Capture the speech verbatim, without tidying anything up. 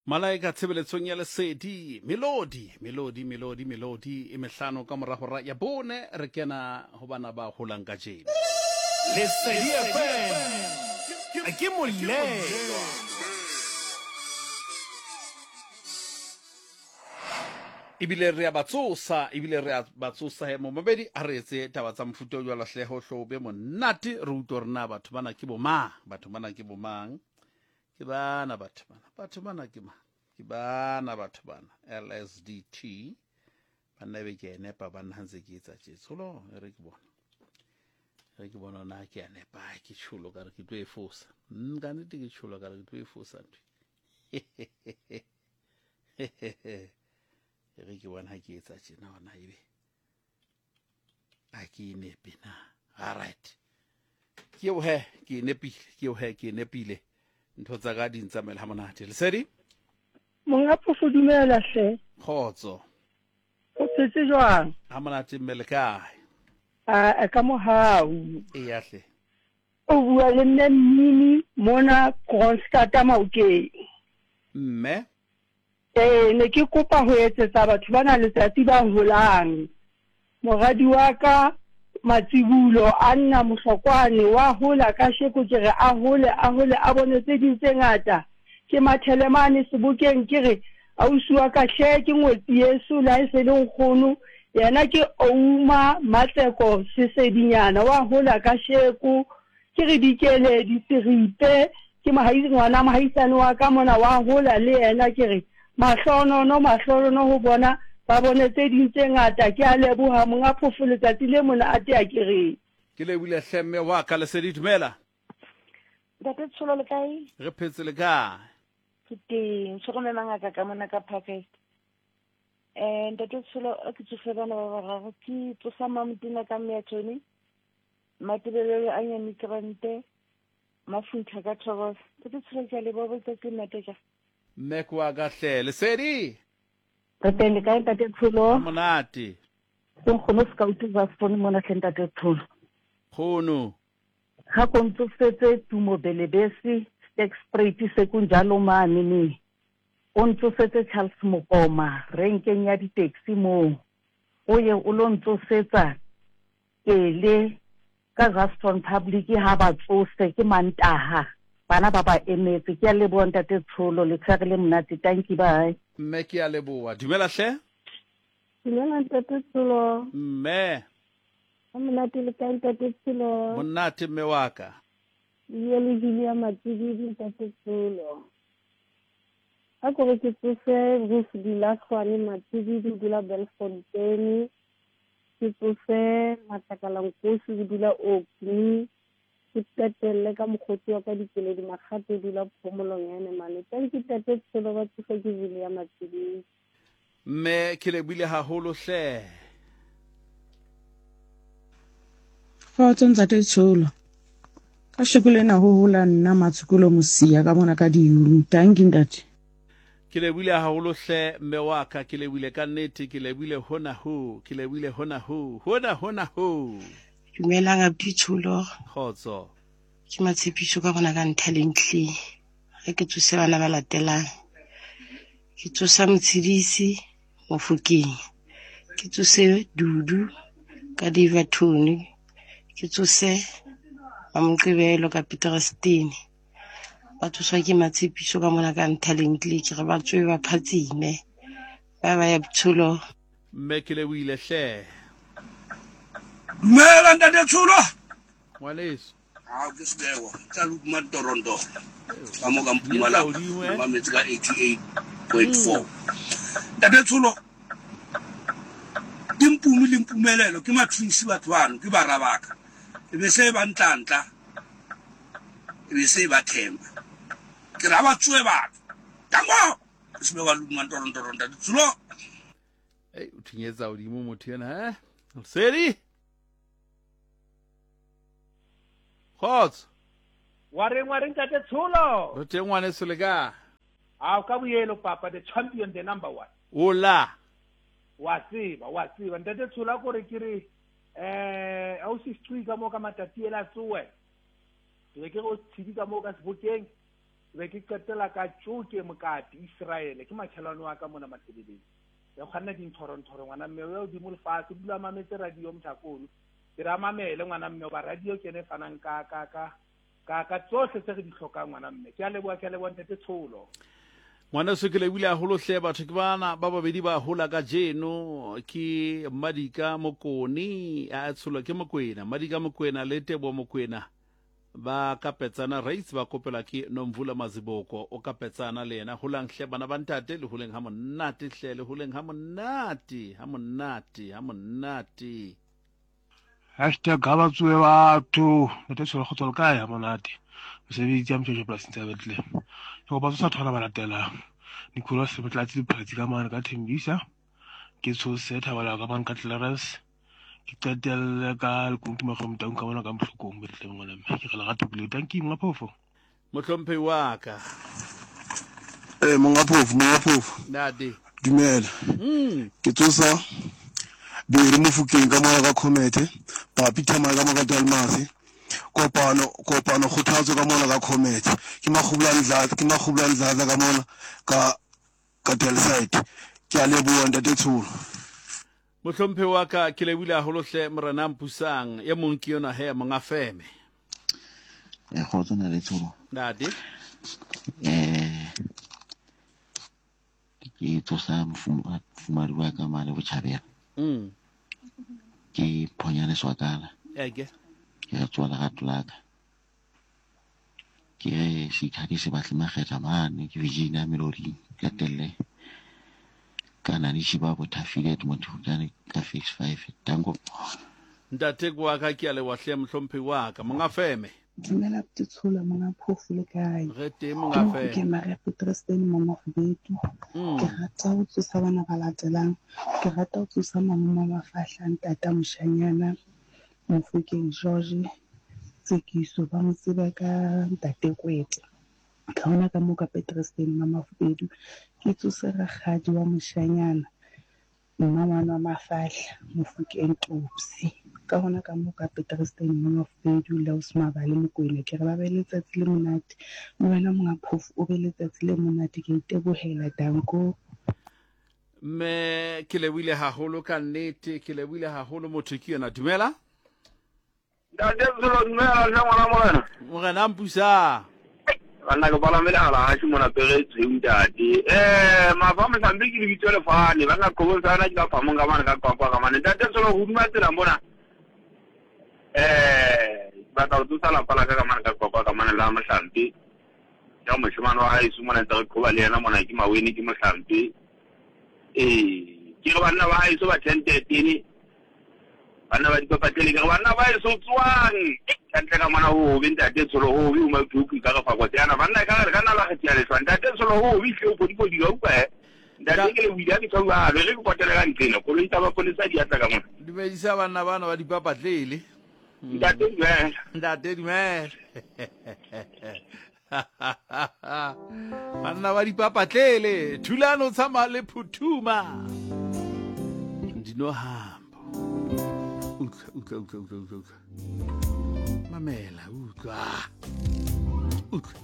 Malaika tshebeletsong ya lesedi melodi melodi melodi melodi e mehlano ka mora hora ya bone re kena ho bana ba holang kajeno. Lesedi F M ke molelwa. Ebile re a ba tsosa, ebile re a ba tsosa he momabedi a re etse taba tsa mofuta o jwalo hle ho hlobe monate re utlwe hore na batho bana ke bomang, batho bana ke bomang. Ke bana batho bana, batho bana ke mang? Ke bana batho bana L S D T banna be ke nepa banna ha ntse ke etsa tje tsholo e re ke bona. Re ke bona na ke a nepa ke tsholo ka re ke tlo e fosa. Mm ka nnete ke tsholo ka re ke tlo e fosa ntho. E re ke bona ha ke etsa tjena hona ebe a ke nepe na. All right. Ke eo he ke nepile, ke eo he ke nepile. Ntho tsa ka di ntsamaela ha monate. Lesedi? Monga phofo dumela hle. Kgotso. O phetse jwang? Ha monate mme le kae? A ka mohau. Eya hle. O bua le mme Mmini mona Kroonstad Maokeng. Mme? Eh ne ke kopa ho etsetsa batho bana letsatsi ba holang. Moradi wa ka Matsibulo Anna Mohlokwane wa hola ka sheko ke re a hole a hole a bone tse ding tse ngata. Ke mathelemane sebokeng ke re ausi wa ka hle ke ngwetsi yeso la e se le nkgono yena ke Ouma Matseko Sesedinyana wa hola ka sheko ke re dikele diseripe ke mohaisi ngwana mohaisane wa ka mona wa hola le yena ke re mahlonono mahlonono ho bona ba bone tse ding tse ngata. Ke a leboha monga phofo letsatsi le mona a tea ke re ke lebile hle mme wa ka. Lesedi dumela. Ntate Tsholo le kae? Re phetse le kae? Ke teng, tsholo mme mangaka ka mona ka Parkhurst. Eh ntate Tsholo ke tsofe bana ba bararo ke tsosa Mamtina ka mme ya Tony. Matebelelo a nyane krante mafuntha ka Thokoza. Ntate Tsholo ke a leboha botsatsi ntate ja. Mme kwa ka hle. Lesedi? Re teng le kae ntate Tsholo? Monate. Ke nkgono scout ba phone mona hle ntate Tsholo. Kgono. Ga ko ntsosetse Tumo Belebesi Sterkspruit se kunjalo mane ne. O ntsosetse Charles Mokoma renkeng ya di-taxi moo. O ye o lo ntsosetsa Kele ka Ruston Public ha ba tsose ke Mantaha. Bana ba ba emetse. Ke a leboha ntate Tsholo le tshware le monate. Thank you, bye. Mme ke a leboha. Dumela hle. Dumela ntate Tsholo. Mme. Ha monate le kae ntate Tsholo? Monate mme wa ka. Ye le Julia Matsibidi ntate Tsholo. A ko re ke tsose Ruth Dilahlwane Matsibidi o dula Belfontein. Ke tsose Matlakala Nkosi o dula Orkney. Ke qetelle ka mokgotsi wa ka Dikeledi Makgato o dula Phomolong ya Nemane. Thank you ntate Tsholo ba tsose ke Julia Matsibidi. Mme ke lebile haholo hle. Kgotso ntate Tsholo. Ka sheko lena ho hola nna Matshokolo Mosia ka mona ka diuru. Thank you ntate. Ke lebile haholo hle mme wa ka, ke lebile ka nnete, ke lebile hona ho, ke lebile hona ho, hona hona ho. Dumelang abuti Tsholo. Kgotso. Ke Matshepiso ka bona ka Nthalentle. Ha ke tsose bana ba latelang. Ke tsosa Motshedisi Mofokeng. Ke tsose Dudu ka Daverton. Ke tsose Mamoqebelo ka Peterstein. Ba tsoswa ke Matshepiso ka mona ka Nthalentle ke re ba tswe ba phatsime. Ba ba ya Tsholo. Mme ke lebile hle. Dumela ntate Tsholo. Ngwaneso. Ha ke sebego tla luma Toronto. Ka mo ka Mpumalanga. Ba metse ka eighty-eight point four. Ntate Tsholo. Ke Mpumi le Mpumelelo ke matwins batho bano ke bara baka. E be se ba ntlantla. E be se ba themba. Ke ra ba tsoe batho. Tango. Ke sebego luma Toronto ntate Tsholo. Ei o thinyetsa hodimo motho ena he. Lesedi. Kgotso. Wa reng wa reng ntate Tsholo? Re teng ngwaneso le kae? A ka boyelo papa the champion the number one. Ola. Wa tseba, wa tseba ntate Tsholo ko re ke re eh ausi Squi ka mo ka matati ela tsoe. Ke re ke go tshidi ka mo ka sebokeng. Be ke qetela ka Tjoke Mokati Israel, ke makhelwane wa ka mona Matebeleng. Ya kganna dinthoro-nthoro ngwana mme o ya hodimo lefatshe, o dula mametse radio motlhakono. Ke ra mamele ngwana mme ba radio ke ene e fanang ka ka ka ka ka tsohle tse re di hlokang ngwana mme. Ke a leboha, ke a leboha ntate Tsholo. Ngwaneso ke lebohile haholo hle batho ke bana ba babedi ba hola ka jeno ke Madika Mokone a tsholwa ke Mokwena Madika Mokwena le Tebo Mokwena ba kapetsana rates ba kopelwa ke Nomvula Maziboko o kapetsana le yena holang hle bana ba ntate le holeng ha monate hle le holeng ha monate ha monate ha monate. Hashtag ha ba tsohe batho ntate Tsholo kgotso le kae ha monate mosebetsi ya motjotjo polasing tsa Bethlehem. Ke kopa tsosa thwana ba latelang Nicholas Motlatsi Lephatsi ka mane ka Thembisa, ke tshose Thabala ka mane ka Clarence, ke qetelle ka Lekuntu Makgomo Taung ka mona ka Mohlokong Bethlehem ngwana mme. Ke re lerato pele tanki monga phofo. Mohlomphehi wa ka. Eh monga phofo, monga phofo. Ntate. Dumela. Mm. Ke tsosa Bere Mofokeng ka mona ka Comete, Papi Thamae ka mona ka Dalmasi. Kopano kopano kgothatso ka mona ka Comete. Ke Makgobula Ndladla, ke Makgobula Ndladla ka mona ka ka Delside. Ke a leboha ntate Tsholo. Mohlomphehi wa ka ke lebohile haholo hle morena Mpusang e mong ke yona he monga feme. Eh kgotso na le Tsholo. Ntate. Eh ke tsosa mofumadi wa ka mane botjhabela. Mm. Ke Phonyane Swakala. Eke. Ke re tsoa lerato la ka. Ke re seithati se batle makgetha mane ke Virginia Melody ka telle. Ka nani shiba bo thafile Edmond ka phase five tango. Ntate kwa ka ke a leboha hle mohlomphehi wa ka monga feme. Dumela Tsholo monga phofu le kae? Re teng monga feme. Ke Maria Petrsten mama Kgubedu. Ke rata ho tsosa bana ba latelang. Ke rata ho tsosa malome wa Mafahla ntata moshanyana Mofokeng George Tsekiso ba mo tseba ka ntate Kwete. Ka hona ka mo ka Petrsten mama Kgubedu. Ke tsose rakgadi wa moshanyana mma ngwana wa Mafahla Mofokeng Topsy. Ka hona ka mo ka Petrsten mama Kgubedu le Osmabale Mokwena. Ke re ba be letsatsi le monate. Le wena monga phofu o be letsatsi le monate. Ke itebohela danko. Mme ke lebohile haholo ka nnete, ke lebohile haholo motho ke yona. Dumela. Ntate Tsholo dumela hle ngwana morena. Morena Mpusang. Banna ke palamele hala hashi mona pere tshweu ntate. Eh mafa mohlambi ke lebitso lefane banna qobong sana ke ka phamong ka mane ka Qwaqwa ka mane. Ntate Tsholo hodima tsela mona. Eh batla ho tsosa lapa la ka ka mane ka Qwaqwa ka mane la mohlambi. Ya moshemane wa haeso mona ntse re qhoba le yena mona ke Maweni ke mohlambi. Eh ke re banna ba haeso ba ten thirteen. Banna ba dipapatlele ke re banna ba haeso tswang. Ka ntle ka mona ho hobe ntate Tsholo ho hobe o mapheuku ka re fa kotsi yana banna ka re ka nna la kgetha lehlwa ntate Tsholo ho hobe hle o podipodi ka utlwa he. Ntate ke le buile ke tshwa re re ke potele ka ntlena koloi tsa maponesa di atla ka mona. Dumedisa banna bana ba dipapatlele. Ntate dumela. Ntate dumela. Banna ba dipapatlele thulano tshama le phuthuma. Ndinohambo. Utlwa utlwa utlwa utlwa utlwa. Mamela utlwa. Utlwa.